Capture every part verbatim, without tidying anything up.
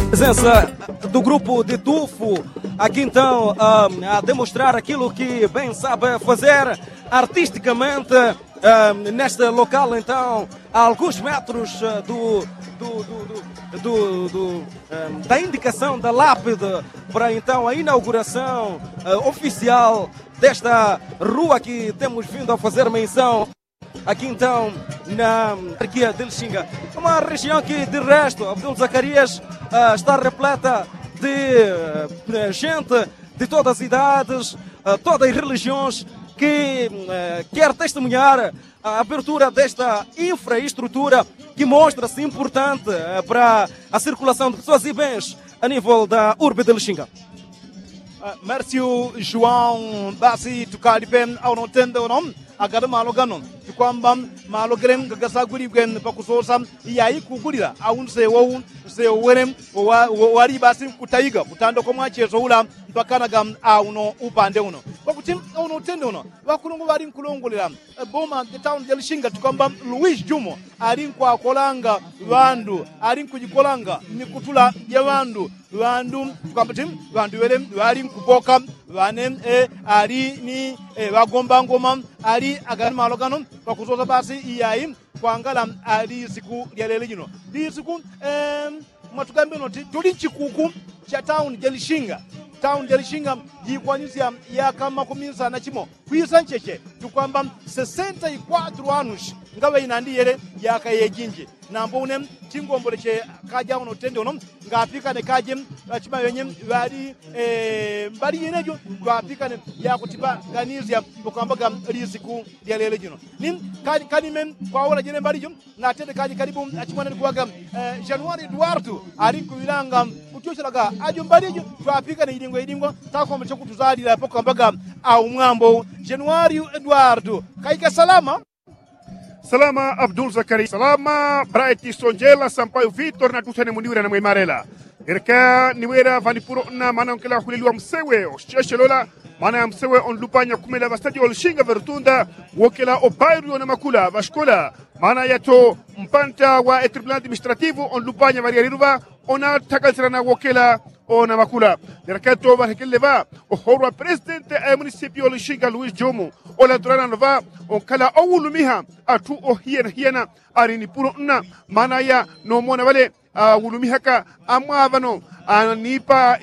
Presença do grupo de tufo aqui então, ah, a demonstrar aquilo que bem sabe fazer artisticamente, ah, neste local, então, a alguns metros, ah, do, do, do, do, do, do, ah, da indicação da lápide para então a inauguração, ah, oficial desta rua que temos vindo a fazer menção. Aqui então na Arquia de Lixinga, uma região que de resto Abdul Zacarias, ah, está repleta de, eh, gente de todas as idades, ah, todas as religiões que, eh, quer testemunhar a abertura desta infraestrutura que mostra-se importante, eh, para a circulação de pessoas e bens a nível da urbe de Lixinga. Ah, mérsiu juwawu basi tukalipe auno tende uno. Agada malo gano tukwamba malo gele ngagasaguligwe pakusosa. Iyayi kugulila awu nsewo wu nsewo wele wali basi kutayiga kutanda kwa mwacheso ula mpakanaga auno upande uno. Pakuti auno utende uno ŵakulungu ŵali nkulongolela boma de tauni ja lishinga tukwamba luwisi jumo ali nkwakolanga ŵandu ali nkujikolanga mikutula ja ŵandu. Ŵandu tukamba ti ŵandu ŵele ŵali nkupoka ŵane ali ni ŵagomba ngoma ali agani malo gano pakusosa basi iyayi kwangala ali siku lya lelo jino. Lisiku mwatugambile noti tuli nchikuku cha tauni ja lishinga. Tauni ja lishinga jikwanisya yaka makumi nsana chimo kwisa ncheche tukwamba sesenta ikwatru anushi ngaŵe inandi yele yaka yejinji. Nambo une tingomboleche kaja uno tende uno ngapikane kaje achima wenye ŵali mbali yenejo twapikane yakutipa ganisya ukambaga lisiku lya lelo jino. Ni kanime kwawola jene mbali jo natende kaji kalibu achimwana ni kuŵaga januari eduardo ali nkuŵilanga kutyochelaga ajo mbali jo twapikane idingwa idingwa takombe chakutuzalila pakukambaga aumwambo januari eduardo kaika salama. Salama abdul zakari salama braiti sonjela sampayu vitor natuthene muniwira na mwimarela. Ereka niwera ŵanipuro nna mana onkela huleliwa msewe osheshelola mana ya msewe onlupanya kumela ŵastadio olishinga ŵerutunda wokela obairu yona makula ŵashikola mana yato mpanta wa etribunal administrativu onlupanya ŵaryaliruŵa ona takalisirana wokela ona makula. Ereka to ŵahekelele ŵa ohorwa presidente a munisipio olishinga luis jumu olatulana loŵa onkala owulumiha athu ohiyanahiyana ali nipuro nna mana ya nomona ŵale awulumihaka amwaŵano anipa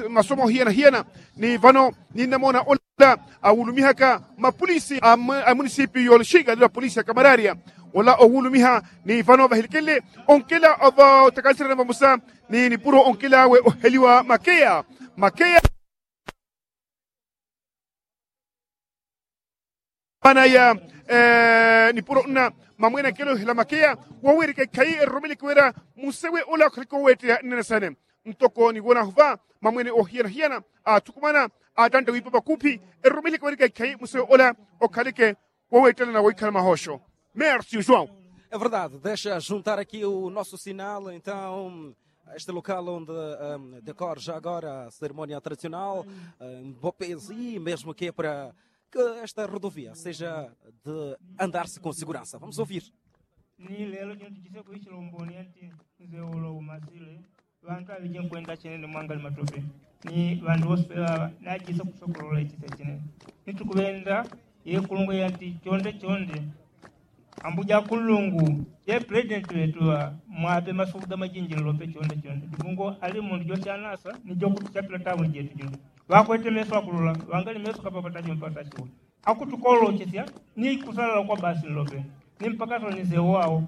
masomo hiyanahiyana. Ni ŵano ninamona ola awulumihaka mapulisi a munisipi yolishinga lila pulisi ya kamararia ola owulumiha ni ŵano ŵahilikelele onkela otakalisirana ŵamusa ni nipuro onkela awe oheliwa makeya makeya. Mana ya nipuro nna mamwene akelo hela makeya woweleka ikhayi eromele kiwera musewe ola okhaleke woweteya nnene sene. Ntoko ni wona huŵa mamwene ohiyanahiyana athukumana atante wipa ŵakuphi eromele kiweleka ikhayi musewe ola okhaleke woweteya na woikhala mahosho. Mersi ujuwau. É verdade, deixa juntar aqui o nosso sinal então. Este local onde decorre já agora a cerimónia tradicional em bopezi mesmo que é para que esta rodovia seja de andar-se com segurança vamos ouvir. Ni lelo jino tujise kuichila umboni anti nze ulo umasile ŵantu aŵije nkwenda chinene mwangali matope ni ŵantu wose peŵaŵa najise kusokolola ichise chinene. Ni tukuŵenda yekulungwa yanti chonde chonde. Ambuja kulungu ye presidenti ŵetu ŵa mwaŵe masuku gamajinjililo pe chonde chonde dimungo ali mundu jochanasa ni jokutuchapila tabu jetu jino. Ŵakwete meso akulula ŵangali meso kapapatachi mpatachiwa akutukolochesya ni kusalala kwa basi nlope. Ni mpaka soni nsewo awo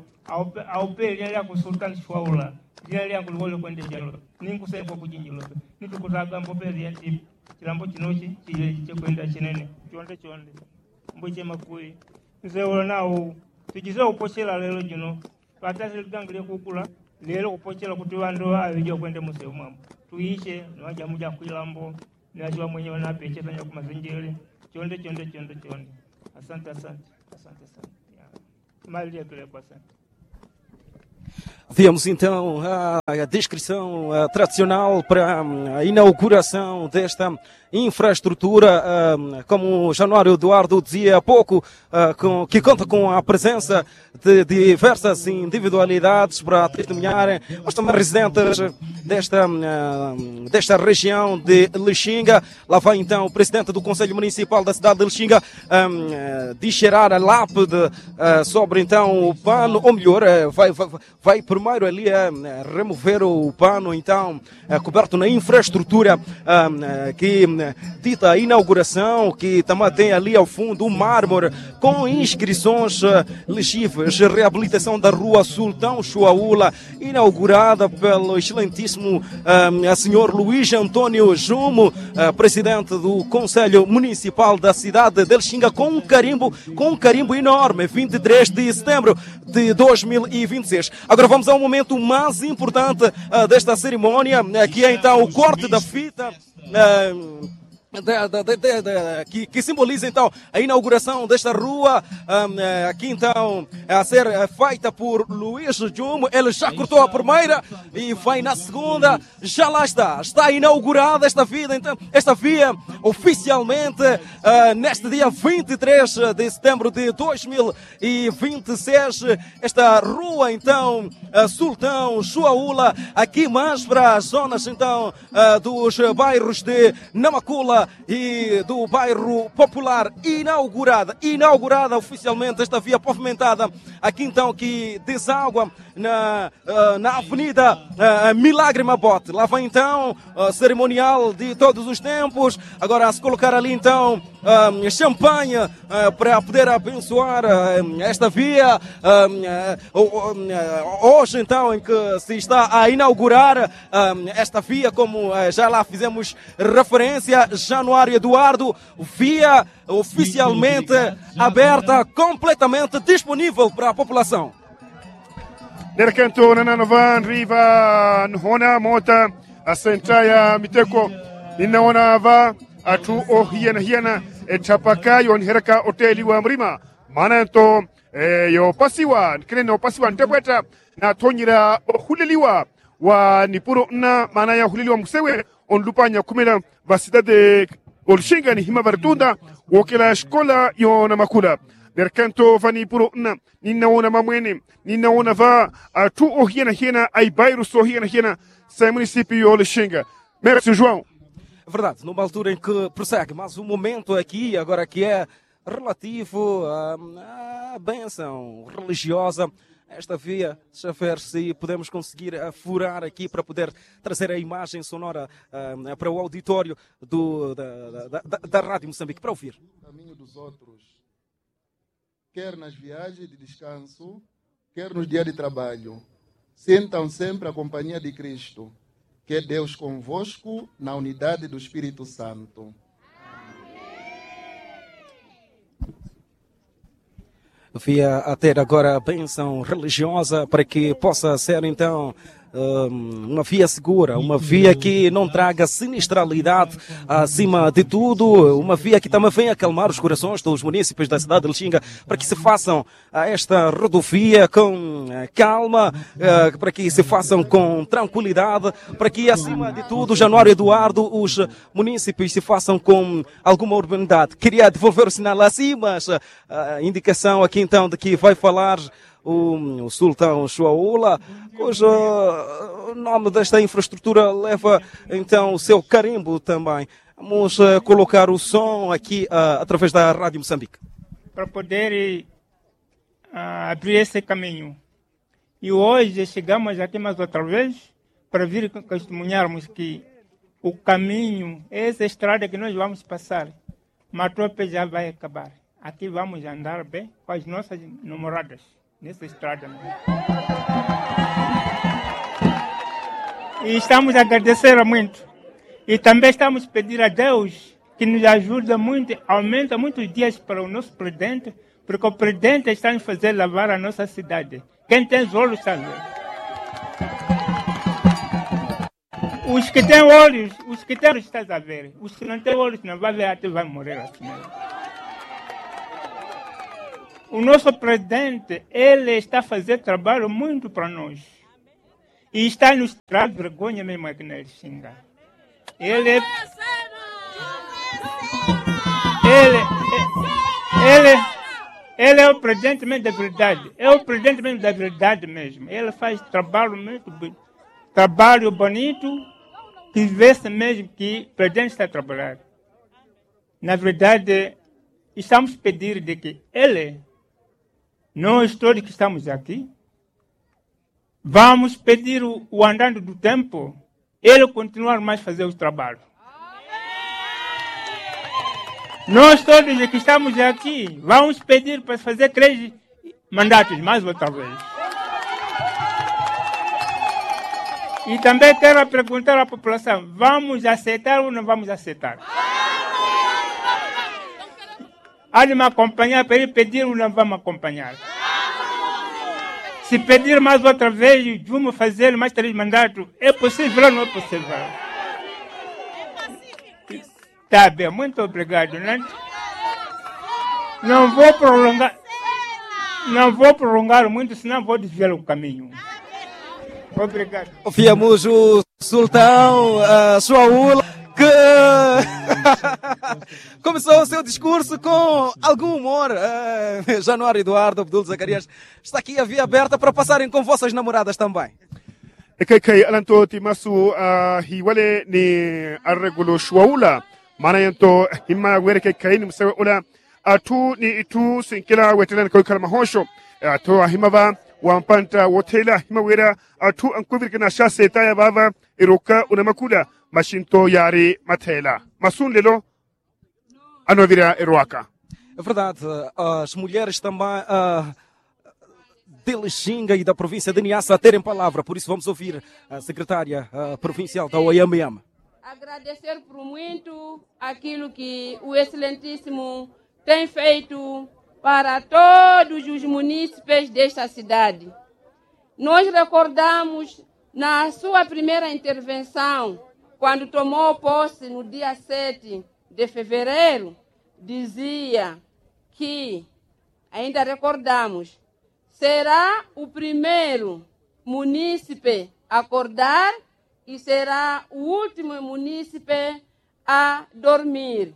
awo pe lina lyaku sultani shwaula lina lyangu liwole kwende jalo ni nkusekwa kujinjilo pe. Ni tukusaga mbope lyati chilambo chinochi chile chekwenda chinene. Chonde chonde mbwiche makui nsewo nawo tujise upochela lelo jino. Ŵatasi liganga lyakukula lelo kupochela kuti ŵandu aŵeji ŵakwende musewo mwambo tuiche ni ŵajamu jakwilambo ni ŵachiŵa mwenye ŵanapechesa nyakumasenjele. Chonde chonde chonde chonde. Asante asante. Asante asante. Mali lyakelekwa asante. Vemos então a descrição tradicional para a inauguração desta infrastrutura, ah, como Januário Eduardo dizia há pouco, ah, com, que conta com a presença de diversas individualidades para testemunharem, mas também residentes desta, ah, desta região de Lixinga. Lá vai então o presidente do Conselho Municipal da cidade de Lixinga, ah, ah, descerrar a lápide, ah, sobre então o pano, ou melhor, eh, vai, vai, vai primeiro ali, eh, remover o pano, então, eh, coberto na infraestrutura, ah, eh, que, eh, dita inauguração, que também tem ali ao fundo o mármore com inscrições, eh, legíveis, reabilitação da rua Sultão Chuaula, inaugurada pelo excelentíssimo, ah, senhor Luís António Jumo, ah, presidente do Conselho Municipal da cidade de Lixinga, com um carimbo, com um carimbo enorme, vinte e três de setembro de dois mil e vinte e seis. Agora vamos ao momento mais importante, ah, desta cerimónia, né, que é então o corte da fita, né, de, de, de, de, de, que, que simboliza então a inauguração desta rua, ah, eh, aqui então a ser, eh, feita por Luís Jumo. Ele já cortou a primeira e vai na segunda. Já lá está, está inaugurada esta vida, então, esta via oficialmente, ah, neste dia vinte e três de setembro de dois mil e vinte e seis, esta rua, então, ah, Sultão Chuaula, aqui mais para as zonas, então, ah, dos bairros de Namacula e do bairro Popular, inaugurada, inaugurada oficialmente esta via pavimentada, aqui então que deságua na, ah, na Avenida, ah, Milagre Mabote. Lá vai então, ah, cerimonial de todos os tempos. Agora a se colocar ali então, ah, champanhe, ah, para poder abençoar, ah, esta via. Ah, o- o- ah, hoje então em que se está a inaugurar, ah, esta via, como, ah, já lá fizemos referência, Januário Eduardo, via oficialmente aberta, completamente disponível para a população. Nerekento nanano va nriva nhona mota asenta ya miteko, ninaona va athu ohiyanahiyana, ethapaka yonihereka oteli wa mrima. Mana nto, eh, yopasiwa nkene nopasiwa ntepweta, nathonyera ohuleliwa wa nipuro nna, mana ya ohuleliwa musewe onlupanya khumela va sidade olixinga nihima va ritunda wokela xikola yona makula. Nerekento va nipuro nna, ninaona mamwene, ninaona va athu ohiyanahiyana, aibairusi ohiyanahiyana, sai munisipiu yolixinga. Merci joão. É verdade, numa altura em que prossegue mais um momento aqui, agora que é relativo à, à benção religiosa, esta via, deixa ver se podemos conseguir, ah, furar aqui para poder trazer a imagem sonora, ah, para o auditório do, da, da, da, da Rádio Moçambique, para ouvir. Caminho dos outros, quer nas viagens de descanso, quer nos dias de trabalho, sintam sempre a companhia de Cristo. Que Deus convosco na unidade do Espírito Santo. Via a ter agora a benção religiosa para que possa ser então, hum, uma via segura, uma via que não traga sinistralidade acima de tudo, uma via que também venha acalmar os corações dos munícipes da cidade de Lixinga, para que se façam a esta rodovia com, eh, calma, eh, para que se façam com tranquilidade, para que, acima de tudo, Januário Eduardo, os munícipes se façam com alguma urbanidade. Queria devolver o sinal assim, mas, eh, a indicação aqui então de que vai falar o, o Sultão Chuaula, cujo, eh, nome desta infraestrutura leva então o seu carimbo também. Vamos, eh, colocar o som aqui, ah, através da Rádio Moçambique. Para poder, ah, abrir esse caminho. E hoje chegamos aqui mais outra vez para vir testemunharmos que o caminho, essa estrada que nós vamos passar, Matope já vai acabar. Aqui vamos andar bem com as nossas namoradas nessa estrada. E estamos a agradecer muito. E também estamos a pedir a Deus que nos ajude muito, aumenta muitos dias para o nosso presidente, porque o presidente está a fazer lavar a nossa cidade. Quem tem os olhos está a ver. Os que têm olhos, os que têm olhos estão a ver. Os que não têm olhos não vai ver, até vai morrer assim. O nosso presidente, ele está a fazer trabalho muito para nós. E está nos trazendo vergonha mesmo aqui na Lixinga. Ele é Ele ele ele é o presidente mesmo da verdade, é o presidente mesmo da verdade mesmo, ele faz trabalho muito bem, trabalho bonito, que vê-se mesmo que o presidente está trabalhando. Na verdade, estamos pedir de que ele, nós todos que estamos aqui, vamos pedir o andando do tempo, ele continuar mais fazer o trabalho. Nós todos que estamos aqui vamos pedir para fazer três mandatos mais outra vez. E também quero perguntar à população, vamos aceitar ou não vamos aceitar? Hadi makompanyala pedi pediru na vamakompanyala. Si pediru mas otra vez, jumo fazelu mas três mandatu. É posivel ou no é posivel? Tabe muito obrigadu nandi. Não vou prolongar, não vou prolongar muito senão vou desviar o caminho. Obrigadu. Ofiamusu sultão, suaula que começou o seu discurso com algum humor. Januário eduardo abdul zacarias está aqui a via aberta para passarem com vossas namoradas também. Ekaikai alanto timasu hiwale ni arregulu suaula. Mana yanto hima were kaikai ni musewe ula. Atu ni itu sinkila wetela ni kawikala mahosho. Atu ahima va wampanta wotela hima wera. Atu ankuvirikina sha seta ya vava iruka una makula. Mashinto yari matela masunlelo. Anovira iruaka. É verdade. As mulheres também de lixinga e da província de niassa terem palavra por isso vamos ouvir a secretária provincial da oimm. Agradecer por muito aquilo que o excelentíssimo tem feito para todos os munícipes desta cidade. Nós recordamos na sua primeira intervenção quando tomou posse no dia sete de fevereiro dizia que ainda recordamos será o primeiro munícipe a acordar e será o último munícipe a dormir.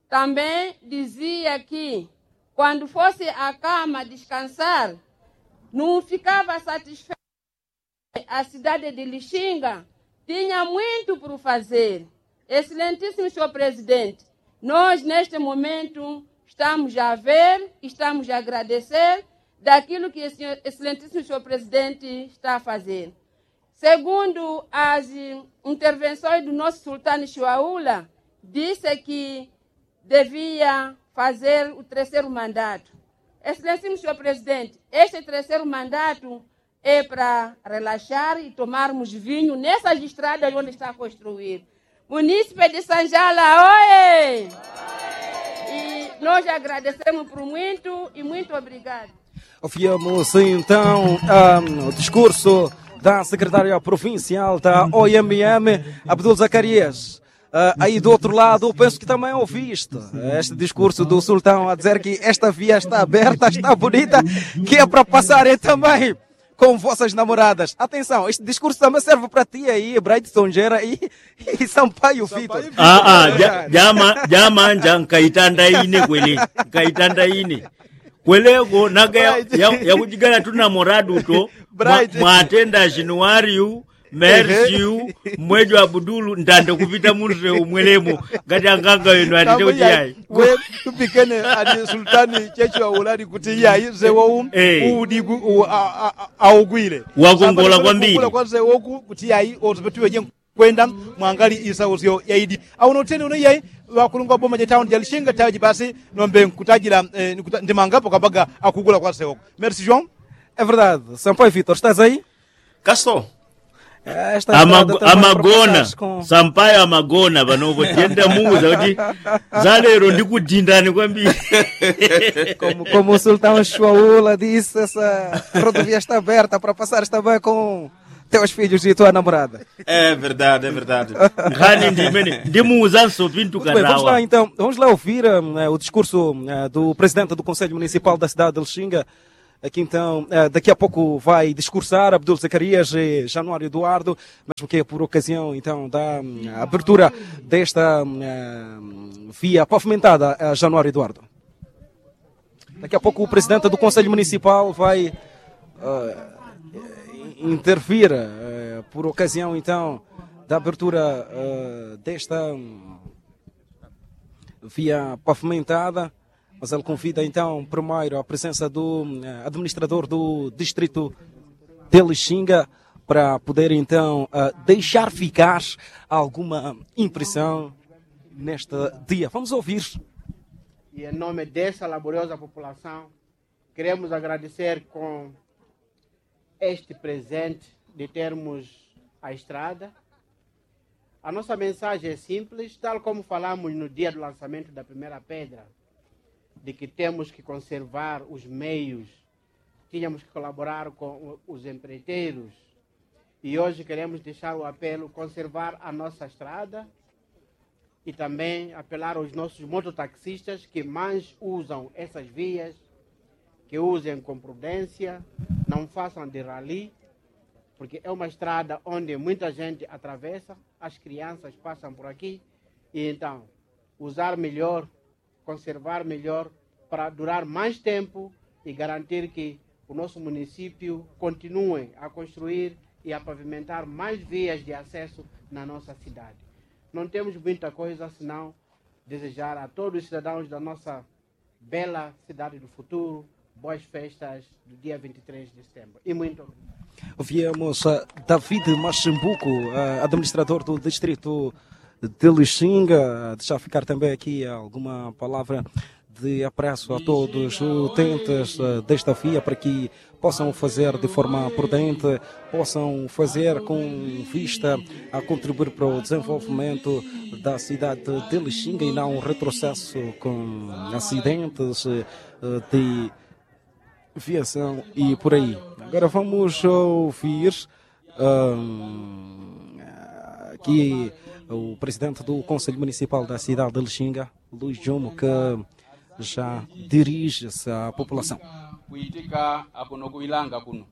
Também dizia que quando fosse a cama descansar não ficava satisfeito. A cidade de lixinga tinha muito por fazer. Excelentíssimo senhor presidente, nós neste momento estamos a ver, estamos a agradecer daquilo que excelentíssimo senhor presidente está a fazer. Segundo as intervenções do nosso sultano chuaula, disse que devia fazer o terceiro mandato. Excelentíssimo senhor presidente, este terceiro mandato é para relaxar e tomarmos vinho nessas estradas onde está construir. Munícipe de sanjala oe. E nós agradecemos por muito e muito obrigado. Ouvimos então o discurso da secretária provincial da oimm, abdul zacarias. Aí do outro lado penso que também ouviste este discurso do sultão a dizer que esta via está aberta, está bonita, que é para passarem também com vossas namoradas. Atenção, este discurso também serve para ti aí bright sonjera e sampaio fito. Jama jama nja nkaitanda ine kwele. Nkaitanda ine kweleko naga yakujigala tu namoradu to. Mwatenda januariu, mersiu, mmwejo abudulu ntande kupita munsewu mwelemo. Ngati anganga wenu atite kuti yayi. Tupikene ati sultani chechi waulali kuti yayi nsewowu udigu augwile. Wakongola kwambili. Kuti yayi otupetuweje kwenda mwangali isausyo yaidi. Aunotene uno yayi. Wakulungwa boma jataundi jalishinga taji basi nombe nkutajila. Ndimangapo kabaga akugula kwa nsewoku. Mersi joão. É verdade sampayo vitor estás aí? Kaso. Amagona. Sampayo amagona panopo tiyenda muuza kuti zalero ndikudindani kwambiri. Como o sultão chuaula disse essa rodovia está aberta para passar também com teus filhos e tua namorada. É verdade é verdade. Nkhani ndimene ndimuuzanso pintu karawa. Então vamos lá ouvir o discurso do presidente do conselho municipal da cidade de lixinga. Aqui então, daqui a pouco vai discursar Abdul Zacarias, Januário Eduardo, mesmo que é por ocasião então da abertura desta via pavimentada, Januário Eduardo. Daqui a pouco o presidente do Conselho Municipal vai intervir por ocasião então da abertura desta via pavimentada. Mas ele convida então primeiro a presença do administrador do distrito de Lixinga para poder então deixar ficar alguma impressão neste dia. Vamos ouvir. E em nome dessa laboriosa população, queremos agradecer com este presente de termos a estrada. A nossa mensagem é simples, tal como falamos no dia do lançamento da primeira pedra, de que temos que conservar os meios, tínhamos que colaborar com os empreiteiros. E hoje queremos deixar o apelo, conservar a nossa estrada e também apelar aos nossos mototaxistas que mais usam essas vias, que usem com prudência, não façam de rali, porque é uma estrada onde muita gente atravessa, as crianças passam por aqui, e então usar melhor, conservar melhor, para durar mais tempo e garantir que o nosso município continue a construir e a pavimentar mais vias de acesso na nossa cidade. Não temos muita coisa senão desejar a todos os cidadãos da nossa bela cidade do futuro boas festas do dia vinte e três de setembro. E muito obrigado. Viemos a David Massimbuco, administrador do distrito de Lixinga, deixar ficar também aqui alguma palavra de apreço a todos os utentes desta via para que possam fazer de forma prudente, possam fazer com vista a contribuir para o desenvolvimento da cidade de Lixinga e não um retrocesso com acidentes de viação e por aí. Agora vamos ouvir aqui o presidente do Conselho Municipal da cidade de Lixinga, Luis Jomo, que já dirige-se à população. Kuitika akuno kuilanga kuno,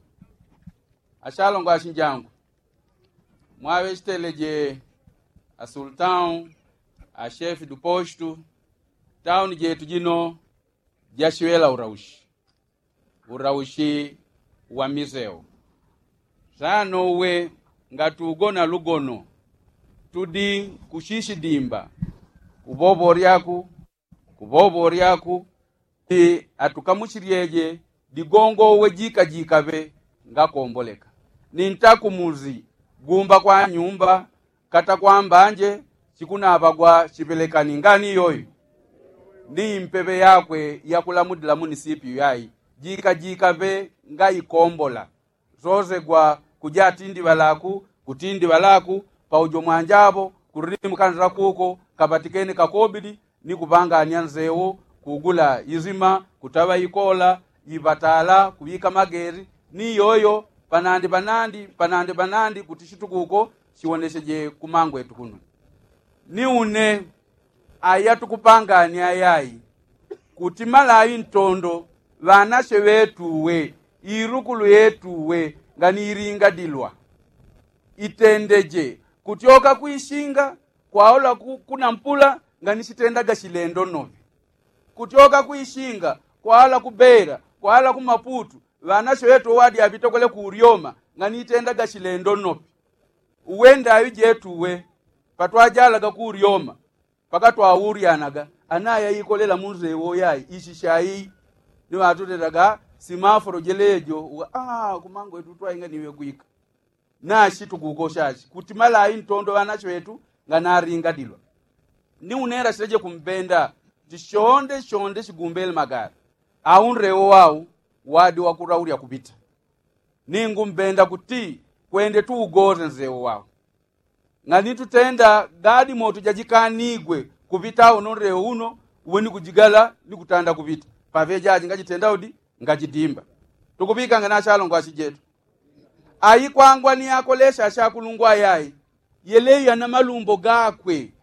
achalongo achinjangu, mwaŵe chiteleje, asultão, achefe do posto, tauni jetu jino jachiŵela uraushi, uraushi wa miseu. Sano uwe ngatugona lugono, tudi kushishi dimba, kuboboryaku kuboboryaku, atukamuchilyeje digongo uwe jika jikaŵe ngakomboleka. Ni ntakumuzi gumba kwa nyumba kata kwa mbanje, chikunaŵagwa chiŵelekani ngani yoyo ni mpeŵe yakwe yakulamudila munisipiyu yai jika jikaŵe ngaikombola. Sosegwa kuja atindi ŵalaku kutindi ŵalaku, paujo mwanjapo kurili mukanisa kuko kaŵatikene kakobili ni kuŵangania nsewo, kugula izima, kutaŵa ikola, iŵatala, kuŵika mageri ni yoyo panandi panandi panandi panandi kuti chitukuko chiwonecheje kumangwetu kuno. Ni une aya tukupangania yai kuti malawi ntondo ŵanache ŵetuwe, irukulu yetuwe ngani ilingadilwa itendeje kutyoka kwishinga kwaola kunampula ngani chitendaga chilendo nope. Kutyoka kwishinga kwaola kubera kwaola kumaputu ŵanache ŵetuwe wadi aŵitokwele kuryoma ngani itendaga chilendo nope. Uwe ndaŵi jetuwe patwajalaga kuryoma pakatwauryanaga anaya ikolela munsewo yai ishisha ii. Ni ŵatutedaga simafolo jelejo uwe aa kumangwetu twainga niŵe gwika. Nashi tukukoshashi kuti malawi ntondo ŵanashi ŵetu nganaringadilwa. Ni unera shileje kumbenda kuti shonde shonde shigumbele magari au nrewo wau wadi wakuraulya kupita. Ni ngumbenda kuti kwende tuugoze nsewo wau. Ngani tutenda gadi moto jajikanigwe kupita uno nrewo uno uwe ni kujigala ni kutanda kupita paŵe jaji ngajitenda udi ngajidimba. Tukuŵikanga na achalongwashi jetu aikwangwa ni akolesha ashakulungwa yai yeleyo yana malumbo gakwe.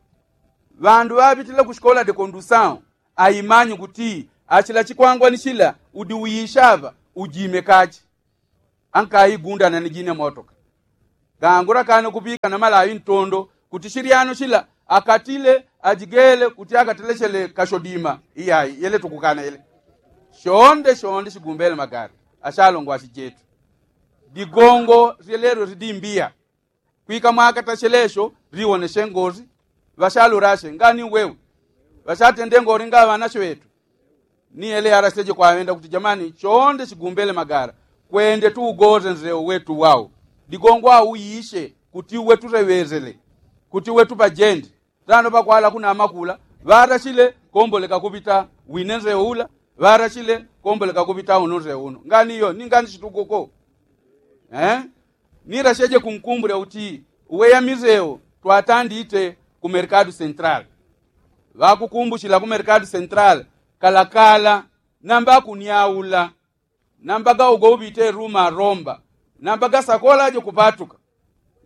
Ŵandu ŵaŵitile kushikola de kondusawo aimanyi kuti achila chikwangwa ni chila udi uishaŵa ujime kachi. Ankaigundana ni jine motoka. Gangura kane kupika na malawi ntondo kuti shilyano shila akatile ajigele kuti akateleshele kashodima. Iyayi yele tukukana yele. Shonde shonde shigumbele magari ashalongwa shijetu. Digongo lyelelo lidimbiya. Kwika mwakatashele esho liwoneshe ngoli. Ŵashalurashe ngani wewe. Ŵashatende ngoli nga ŵanashe ŵetu. Ni ele yaraseje kwawenda kuti jamani chonde chigumbele magara kwende tuugoze nzeo wetu wau. Digongo au uishe kuti uwe tureŵezele kuti uwe tupajendi. Tano pakwala kuna amakula ŵarashile komboleka kupita wine nzeo ula. Ŵarashile komboleka kupita uno nzeo uno ngani iyo ni ngani shitukuko. Eh? Niraseje kunkumbule uti uwe yamizeo twatandite ku merkadu sentral. Ŵakukumbushila ku merkadu sentral kalakala namba kunyaula. Namba gaugo upite ruma romba. Namba gasakolaje kupatuka.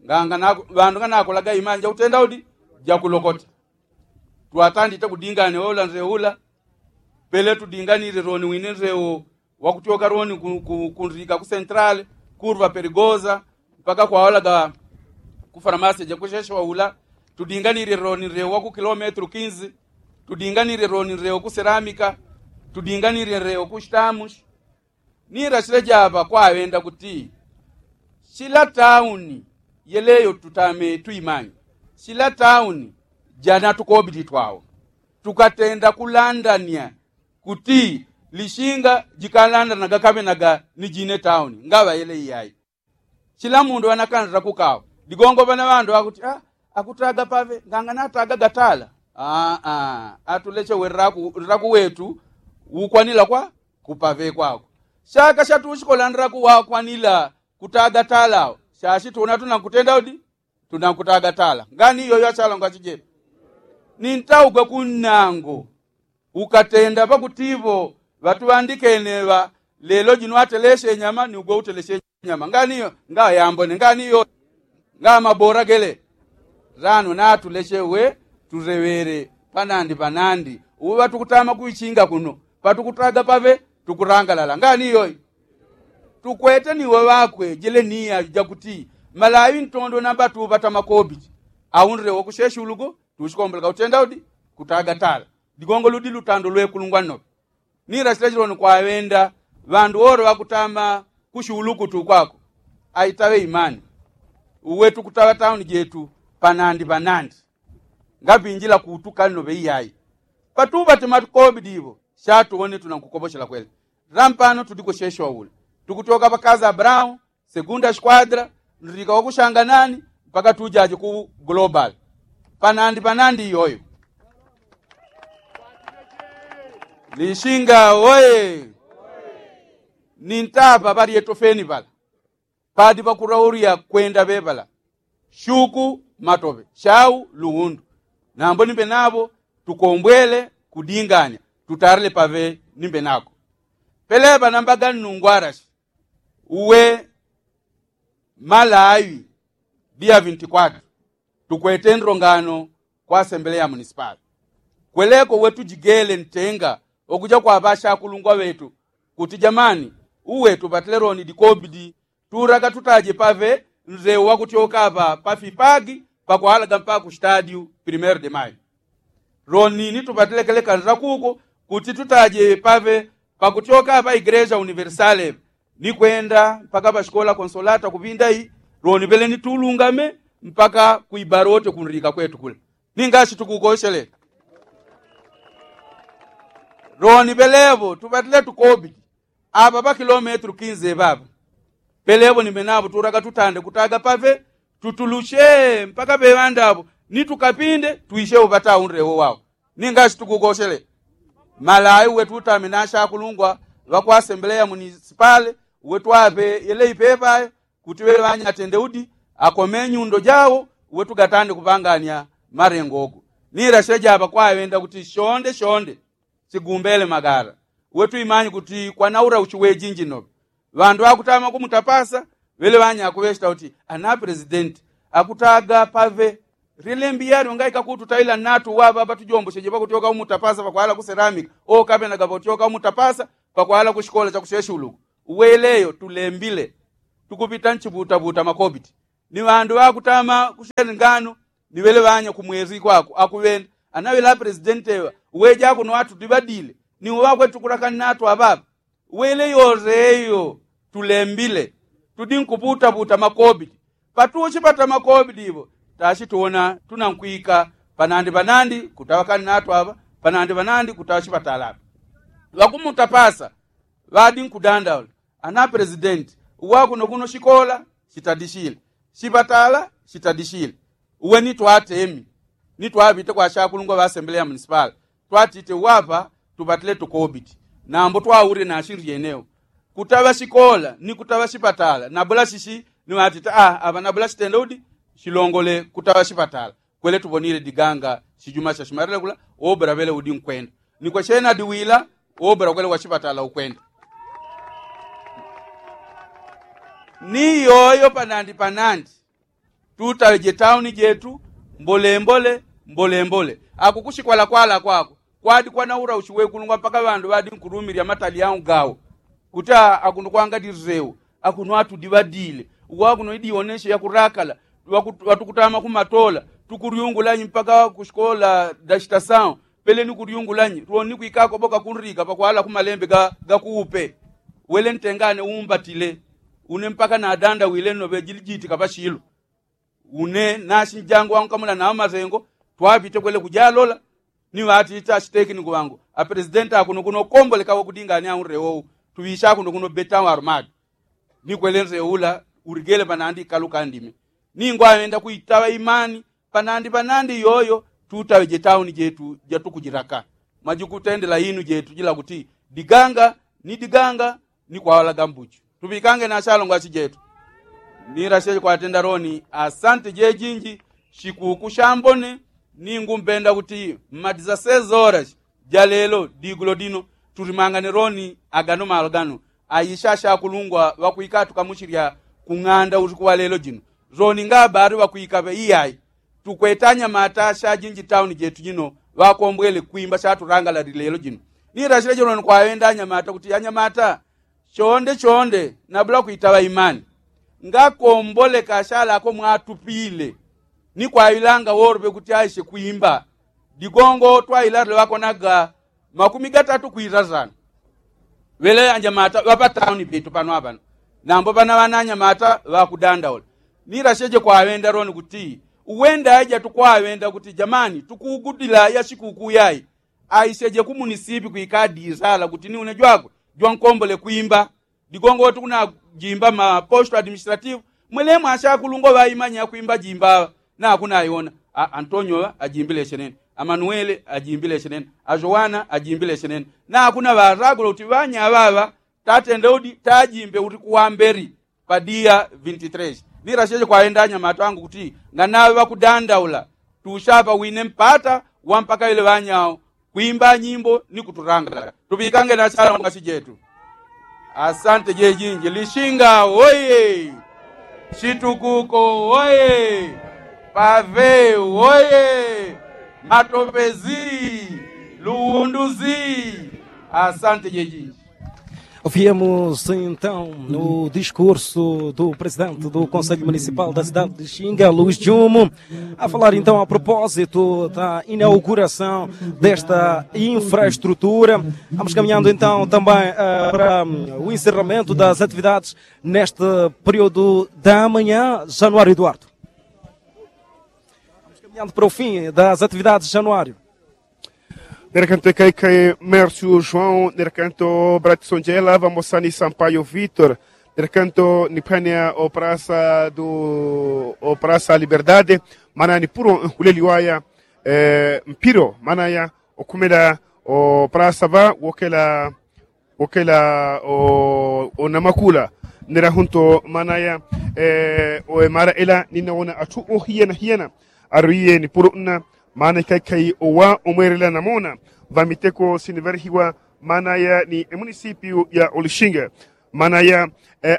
Nganga ŵandu nganakolaga imani jakutenda udi jakulokota. Twatandite kudingane ola nzeo ula. Pele tudinganile roni wine nzeo wakutyoka roni kunrika ku sentrale kurva perigoza mpaka kwaolaga ku farmasi jakusheshewa ula. Tudinganile roni nreo waku kilometru kinzi. Tudinganile roni nreo ku seramika. Tudinganile nreo ku shitamushi. Nirasile java kwaŵenda kuti shila tauni yeleyo tutame tuimanye. Shila tauni janatukobili twawo tukatenda kulandania kuti lishinga jikalandanaga kaŵenaga ni jine tauni ngaŵa yele iyayi. Chila mundu ŵanakanzila kukawa digongo ŵana ŵandu akuti akutaga paŵe nganga nataga gatala. Aa atuleche we nraku wetu ukwanila kwa kupaŵe kwako. Shaka shatushikola nraku wakwanila kutaga tala awo. Shashi tuna tunankutenda udi tunankutaga tala ngani iyoyo achalonga chijetu. Nintaugwe kunnango ukatenda pakutivo ŵatuŵandikene ŵa lelo jino ateleshe nyama ni ugwe uteleshe nyama ngani iyo. Ngayambone ngani iyo. Ngamabora gele. Rano natuleshe uwe tureŵele panandi panandi uwe ŵatukutama kuichinga kuno patukutaga paŵe tukurangalala ngani iyoyo. Tukwete ni waŵakwe jele ni yaju jakuti malawi ntondo namba tuŵata makobili. Aundile wakusheshulugo tushikomboleka utenda udi kutaga tala. Digongo ludi lutando lwekulungwa nnope. Nila chila chiloni kwaŵenda ŵandu wolo ŵakutama kushuluku tukwako. Aitaŵe imani. Uwe tukutaŵa tauni jetu panandi panandi. Ngapinjila kutuka nnope iyayi. Patuŵate makobili iŵo shatuwone tunankukoposhela kwele. Lampano tuliko shesho aule tukutyoka pakazi abrahamu segunda shikwadila ndilika wakushanganani mpaka tujaje ku global. Panandi panandi iyoyo. Lishinga oye. Nintapa ŵalyetofeni ŵala padi ŵakulaulya kwenda ŵeŵala. Shuku matoŵe shau luwundu. Nambo nimbe nawo tukombwele kudinganya tutarle paŵe nimbe nako. Peleŵa namba gannungwalashi uwe malawi dia vintikwatu tukwete ndongano kwa asembeleya munisipali. Kweleko uwe tujigele ntenga wakuja kwa ŵashakulungwa ŵetu kuti jamani uwe tupatile loni dikobidi. Turaga tutaje paŵe nzeu wakutyoka apa pafipagi pakwalaga mpaka ku stadiu primeiro de mayo. Loni ni tupatile kele kanzila kuko kuti tutaje paŵe pakutyoka apa igreja universale ni kwenda mpaka pashikola konsolata kupinda iyi. Loni pele ni tulungame mpaka ku ibarote kunlika kwetu kule. Ninga ashitukukoshele. Loni pelepo tupatile tukobidi apa pakilometru kinze papa. Pelepo nimbe napo tulaga tutande kutaga pape tutulushe mpaka peŵandapo ni tukapinde twishepo pataunde wowao. Ninga ashitukukoshele. Malawi uwe tutame na ashakulungwa ŵakwa asembeleya munisipale uwe twape yele ipepa ayo kuti ŵele ŵanyatende udi akome nyundo jawo. Uwe tugatande kupanganya malengo ogo. Nila sheja apa kwaŵenda kuti shonde shonde sigumbele magala. Uwe tuimanyi kuti kwanaula uchiwejinji nope. Ŵandu ŵakutama kumutapasa ŵele ŵanya akuŵeshita kuti ana presidenti akutaga paŵe. Lilembi yalyo ngaika kututaila natu wapa patujombo sheje pakutyoka umutapasa pakwala kuselamika. Okapenaga pakutyoka umutapasa pakwala kushikola chakusheshuluku. Uweleyo tulembile tukupita nchiputaputa makobiti ni ŵandu ŵakutama kushele ngano ni ŵele ŵanya kumwezi kwako akuŵenda anaŵela presidenti ŵa uweja akuno atudiŵadile ni uŵakwe tukulakani natu aŵaŵa. Uweleyo ureyo tulembile tudi nkuputaputa makobiti patuchi pata makobiti iŵo tachi tuwona tunankwika panandi panandi kutaŵakani natu aŵa panandi panandi kutaŵa chipatala aŵa. Ŵakumutapasa ŵadi nkudandaula ana presidenti uwakuno kuno shikola shitadishile shipatala shitadishile. Uwe ni twatemi ni twaŵite kwa shakulungwa ŵa asembele ya munisipala twatite uwapa tupatile tukobiti nambo twaule nashindri yeneo kutaŵa shikola ni kutaŵa shipatala nabula shishi ni ŵatite a aŵa nabula shitende udi shilongole kutaŵa shipatala. Kwele tuponile diganga shijuma shashimalile kula obra ŵele udi nkwenda ni kwashena diwila obra kwele washipatala ukwenda. Ni yoyo panandi panandi tutaŵe jetauni jetu mbolembole mbolembole. Akukushikwala kwala kwako kwadi kwana ura ushiwekulungwa mpaka ŵandu ŵadi nkulumilya matali yao gawo kuti akuno kwanga direwo akuno atudiŵadile uwakuno idiwoneshe yakurakala. Ŵatukutama kumatola tukuryungulanyi mpaka kushikola dashita sawo pele ni kuryungulanyi roni kwikako ŵoka kunrika pakwala kumalembe gakuupe. Wele ntengane umbatile une mpaka nadandawile nno ŵejilijiti kapashilo. Une nashi njangu wankamula nawo masengo twaŵite kwele kujalola ni ŵatite ashitekiniku ŵangu apresidenti akuno kuno komboleka wakudingania unrewo tuŵisha akuno kuno beta armadi. Ni kwele nrewo ula urigele panandi kaluka ndime ningwawenda kuitaŵa imani panandi panandi yoyo tutaŵe jetauni jetu jatukujilaka. Majikutendela inu jetu jila kuti diganga ni diganga ni kwawalaga mbuchu tuŵikange na shalongo ashi jetu. Ni rasheje kwatenda roni asante jejinji shikuku shambone. Ningumbenda kuti mmadiza sezorashi jalelo digulo dino tulimangane roni agano malo gano aisha ashakulungwa ŵakwikatuka mushilya kung'anda usiku walelo jino. Roni ngabari ŵakwikaŵe iyai tukwete anyamata ashajinji tauni jetu jino ŵakombwele kwimba shatulangalali lelo jino. Ni rashileje roni kwaŵenda anyamata kuti anyamata chonde chonde nabula kwitaŵa imani ngakomboleka ashalako mwatupile ni kwaŵilanga woloŵe kuti aishe kwimba. Digongo twailale ŵakonaga makumi gatatu kwilazana. Ŵele anyamata ŵapatauni petu pano aŵano nambo ŵana ŵana anyamata ŵakudandaula. Ni rasheje kwaŵenda roni kuti uwenda aija tukwaŵenda kuti jamani tukuugudila yashikuku yai aisheje kumunisipi kwikadi isala kuti ni une jwakwe jwankombole kwimba. Digongo tukunajimba maposto administrativu mwelemo ashakulungwa ŵaimanya yakwimba jimba aŵa nakunaiwona. Antonyo ajimbile shenene, amanuele ajimbile shenene, ajowana ajimbile shenene. Nakuna ŵaragulo kuti ŵanya aŵaŵa tatende udi tajimbe udi kuwambeli. Padiya vinti tres ni rasheje kwaenda anyamata angu kuti nganaŵe ŵakudandaula tushapa wine mpata wampaka ile ŵanyao kwimba nyimbo ni kutulangala. Tuŵikange na shala mungasi jetu. Asante jejinji lishinga woye. Shitukuko woye. Pave woye. Matopezi. Luwunduzi. Asante jejinji. Viemos então no discurso do presidente do conselho municipal da cidade de Xinga, luís jumo, a falar então a propósito da inauguração desta infraestrutura. Vamos caminhando então também para o encerramento das atividades neste período da manhã. Januário eduardo. Vamos caminhando para o fim das atividades januário. Nerakanto ekaikai mercio joão nerakanto bratison jela vamosani sampaio vitor. Nerakanto nipania o prasa du o prasa liberdade. Mana nipuro nhuleli waya mpiro mana ya okumela o prasa va wokela wokela o namakula. Nera hunto mana ya o emara ela ninawona atu o hiyana hiyana. Aruiye ni puro nna mana ikaikai owa omwerela namona vamiteko sinivarehiwa mana ya ni emunisipio ya olishinga. Mana ya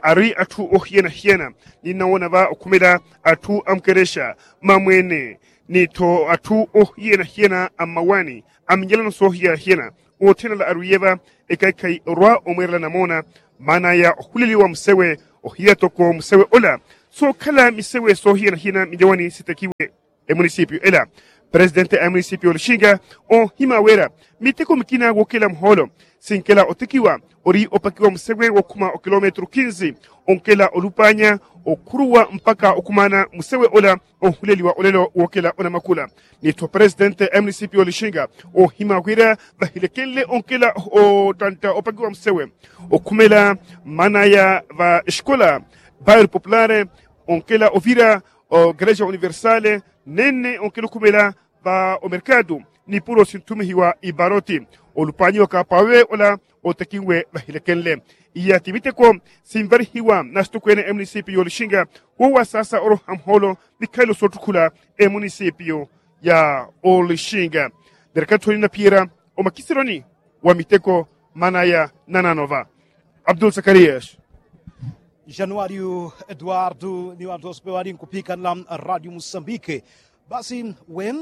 arui atu o hiyana hiyana ninawona va okumela atu amukeresha mamwene ni to atu o hiyana hiyana amawani. Aminjela noso hiyana hiyana otenela aruiye va ikaikai orwa omwerela namona. Mana ya ohuliliwa musewe ohiya toko musewe ola sokhala misewe sohiyanahiyana mijawani sitekiwe. Emunisipio ela presidenti a emunisipio lishinga ohima wela miteko mikina wokela muholo sinkela otekiwa ori opakiwa musewe wokhuma okilometru kinzi onkela olupanya okhuluwa mpaka okumana musewe ola. Onhuleliwa olelo wokela onamakula nitho presidenti a emunisipio lishinga ohima wela ŵahilekenle onkela otanta opakiwa musewe okhumela mana ya ŵa esikola bairo populare onkela ovira o galeja universale nene onkela okhumela ŵa omerkadu ni puro sintumihiwa ibaroti olupanyiwa kapawe ola otekinwe ŵahilekenle. Iya timiteko simvalihiwa nasitukwene emunisipio lishinga wowa sasa olo hamholo mikhailo sotukhula emunisipio ya olishinga. Ndelekathoni na piera omakisiloni wa miteko manaya nananova. Abdul sakariyas. Januario eduardo ni wanthu onse peŵali nkupikanila radio musambike. Basi we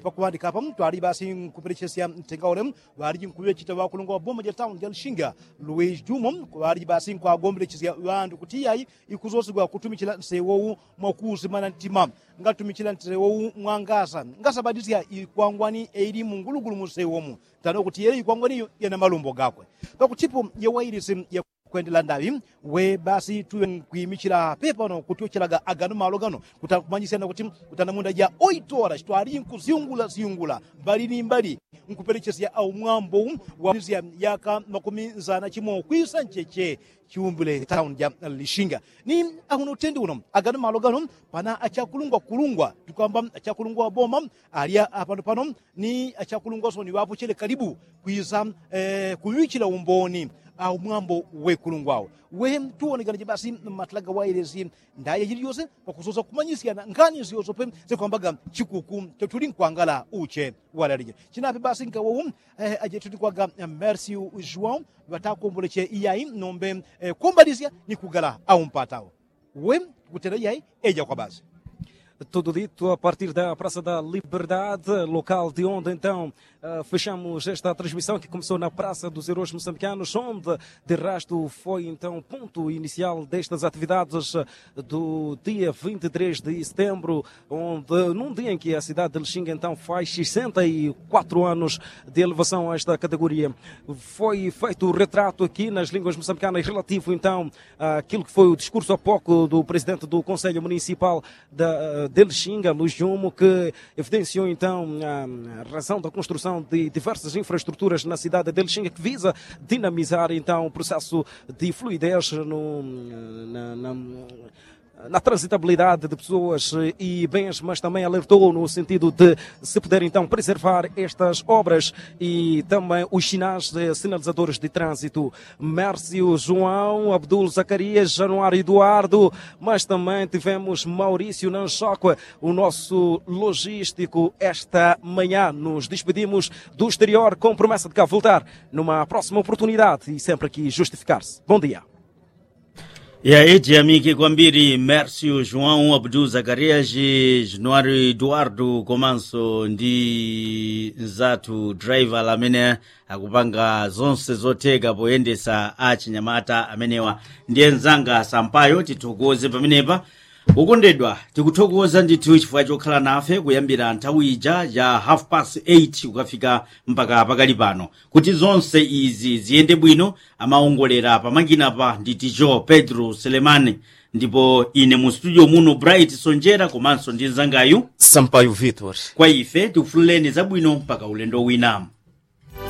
pakuŵandika apa twali basi nkupelechesya ntenga ule ŵaliji nkuŵechita ŵakulungwa ŵa boma ja tauni ja lishinga luwiji jumo kuŵaliji basi nkwagombelechisya ŵanthu kuti iyayi ikuzosegwa kutumichila nsewowu mwakuusimana ntima. Ngatumichila nsewowu mwangasa ngasabatisya ikwangwani eili mungulugulu munsewomu tano kuti yele ikwangwani iyo yana malumbo gakwe. Pakutipo yewailisi yakwendela ndaŵi we basi tuŵe nkwimichila pepano kutyochelaga agano malo gano kutakumanyisya nakuti kutanamunda ja oitora chitwaliji nkusyungula syungula mbali ni mbali nkupelechesya aumwambo wa yaka makumi nzana chimo kwisa ncheche chiumbile tauni ja lishinga. Ni ahuno utendi uno agano malo gano pana achakulungwa kulungwa tukwamba achakulungwa wa boma alya apano pano ni achakulungwa soni ŵapochele kalibu kwisa kuŵichila umboni aumwambo wekulungwa awo. We tuwonekanaje basi matala gawailesi ndaya jiliyose pakusosa kumanyisyana nkhani syosope sekwambaga chikuku chotuli nkwangala uche walalije chinape basi nkawowu ajetutikwaga mersiu juwao ŵatakomboleche iyayi nombe kumbalisya ni kugala aumpatawo. We kutela iyayi eja kwa basi. Tudo dito a partir da praça da liberdade local de onde então fechamos esta transmissão que começou na praça dos heróis moçambicanos onde de resto foi então ponto inicial destas atividades do dia vinte e três de setembro onde num dia em que a cidade de lishinga então faz sessenta e quatro anos de elevação a esta categoria foi feito o retrato aqui nas línguas moçambicanas relativo então aquilo que foi o discurso há pouco do presidente do conselho municipal de lishinga luis jumo que evidenciou então a razão da construção de diversas infraestruturas na cidade de lishinga que visa dinamizar então o processo de fluidez no na transitabilidade de pessoas e bens mas também alertou no sentido de se puder então preservar estas obras e também os sinais sinalizadores de trânsito. Mércio joão abdul zacarias januário eduardo mas também tivemos maurício nanchoque o nosso logístico esta manhã nos despedimos do exterior com promessa de cá voltar numa próxima oportunidade e sempre aqui justificar se bom dia. Yayi tiyamike kwambiri mersiu juwau abdul zakarias januari eduardo komanso ndi nzathu draivala amene akupanga zonse zotheka poyendesa achinyamata amenewa. Ndiye nzanga sampayo tithokoze pamenepa. Okondedwa tikuthokoza ndithu chifukwa chokhala nafe kuyambira nthawi ija ya half past eight kukafika mpaka pakali pano kuti zonse izi ziyende bwino. Amaongolera pamakinapa ndi ticho pedro selemani ndipo ine mu studio muno bright sonjera komanso ndi nzangayu sampayo victor. Kwa ife tikufunireni zabwino mpaka ulendo wina.